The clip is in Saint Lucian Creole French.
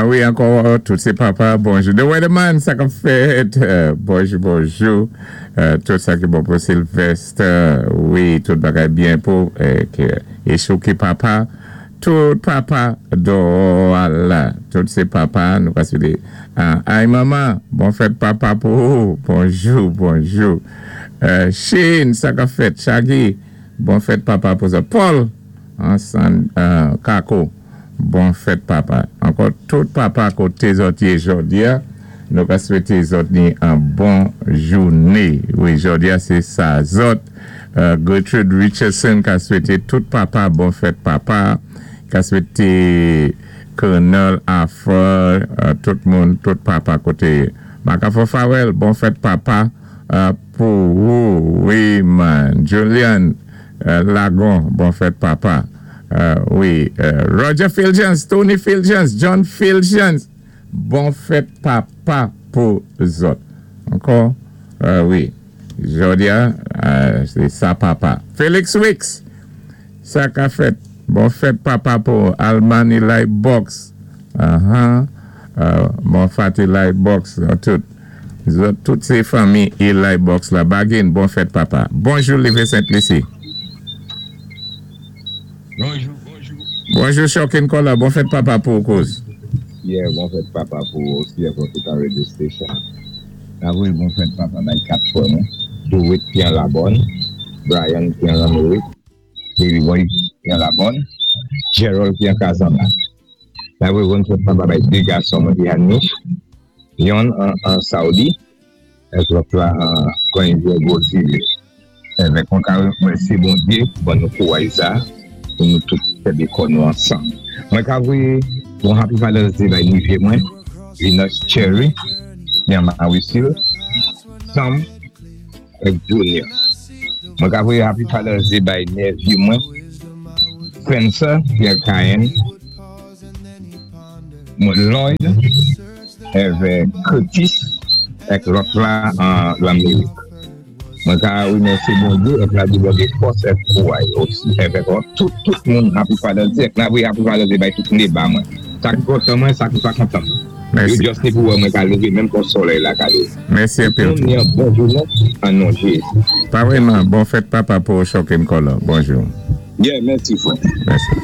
Ah wi, ankò, tout sé papa, bonjou. The Weatherman, sa k ap fèt? Bonjou, bonjou. Tout sa ki bon pou Sylvester. Wi, tout bagay byen pou Echou ki papa. Tout papa dò la. Tout sé papa, nou ka swété. Ay manman, bon fèt papa pou ou. Bonjou, bonjou. Shane, sa k ap fèt? Shaggy, bon fèt papa pou sa. Paul, ansann Kako. Bon fèt papa. Ankò tout papa koté zòt yé jòdi-a, nou ka swété zòt ni an bon jouné. Wi, jòdi-a sé sa zòt. Gertrude Richardson ka swété tout papa bon fèt papa. Ka swété Colonel Afra, tout moun, tout papa koté yé. Makafò Farel, bon fèt papa pou wou. Wi man. Julian Lagon, bon fèt papa. Wi, Roger Fulgence, Tony Fulgence, John Fulgence, bon fèt papa pou zòt. Ankò, wi, jodi a, sé sa papa. Felix Wicks, sa ka fèt? Bon fèt papa pou Almani Light Box, ahan, bon fati Light Box, tout. Zòt tout sé fanmi Eli Box la. Bagin, bon fèt papa. Bonjou Live Sent Lisi. Bonjou, bonjou. Bonjou Shocking Color, bon fèt papa pou ou kouz. Yeah, bon fèt papa pou ou osi ak tout an radio station. N ap voyé bon fèt papa bay 4 frè mwen, Dorit ki an Labòn, Brian ki an Lanmerik, Leroy ki an Labòn, Gerald ki an Kazanba. N ap voyé bon fèt papa bay 2 gason mwen ki Hanich, yonn an Saudi, ak lòt la an Grande Gwo Zile. Evèk mwen ka remèsye Bondye pou ban nou kouwaj sa pou nou tout kenbe kò nou ansanm. Mwen ka voye bon Happy Father's Day bay nevye mwen Venus Cherry ki an Mawisil, Sam ak Junior. Mwen ka voye Happy Father's Day bay nevye mwen Spencer ki an Cayenne, mwen Lloyd avèk Curtis ak lòt la an Lanmerik. Mwen ka remèsye Bondye èk la di Bondye fòs èk kouray osi èvèk tout tout moun happy father's day èk la voye happy father's day bay tout neba mwen sa ki kontan mwen sa ki pa kontan mwen yo just ni pou wè mwen ka leve menm kon solèy la ka leve Mèsi tout anpil moun tou. ni an bon jounen an non Jezi. Pa vreman bon fèt papa pou ou Shocking Color bonjou. Yeah mèsi frè. Mèsi.